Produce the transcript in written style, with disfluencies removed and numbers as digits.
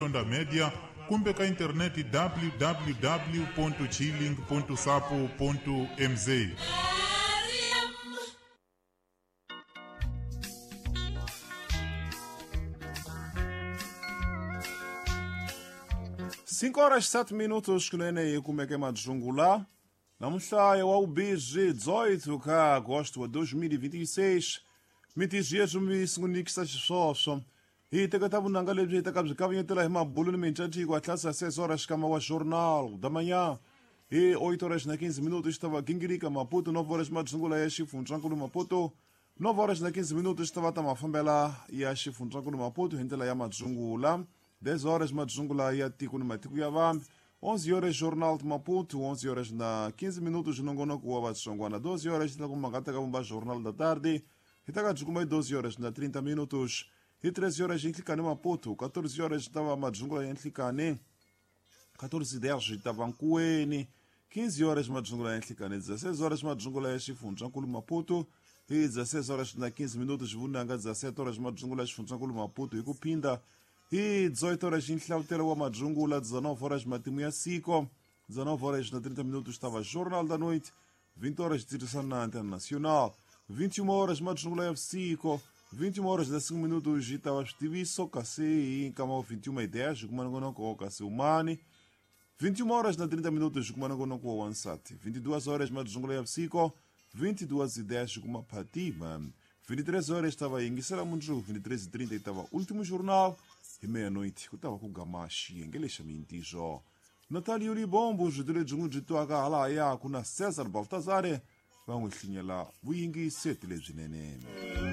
Onda Media kumbe ka interneti www.chilling.sapo.mz. Cinco horas 7 minutos kunene kumeke madzungula namuhla wa ubizhi 18 ka agosto wa 2026, mitizi yeswi mi sungunikisa xiswoswo hi teketa vunanga lebyi hi teka byi kavanyetela hi mabulu ni mincaciko atlasa 6 horas xikama wa Jornal da Manhã, hi 8 horas na 15 minutos xi ta va gingirika Maputo, 9 horas madzungula ya xifundzankulu Maputo, 9 horas na 15 minutos xi ta va ta mafambela ya xifundzankulu Maputo hi ndlela ya madzungula, 10 horas madzungula ya tiko ni matiko ya vambi, 11 horas Jornal de Maputo, 11 horas na 15 minutos nongonoko wa Vatsongwana, 12 horas ta kuma nga teka vumba Jornal da Tarde, hi ta ka byi kuma hi 12 horas na 30 minutos, hi 13 horas nhlikani Maputo, 14 horas ta va madzungula ya nhlikani, 14:10 ta va nkuweni, 15 horas madzungula ya nhlikani, 16 horas madzungula ya xifundzankulu Maputo, hi 16 horas na 15 minutos vunanga, 17 horas madzungula ya xifundzankulu Maputo hi ku phinda, hi 18 horas nhlavutelo wa madzungula, 19 horas matimu ya siko, 19 horas na 30 minutos estava Jornal da Noite, 20 horas tirisana na Antena Nacional, 21 horas madzungula ya vusiku, 21 horas na 5 minutos estava xitiviso, kasi nkama 21:10 kumanongonoko kasi umani, 21 horas na 30 minutos kumanongonoko wa wansati, 22 horas madzungula ya vusiku, 22:10 kumaphatima, 23 horas estava yingisela mundzuku, 23:30 estava último jornal, hi meia-noite ku ta va ku gama xiyenge lexa mintiso. Natalio Libombo byi lebyi n'wi byi twaka halahaya ku na Cesar Baltazare va n'wi hlinyela vuyingiseti lebyinene.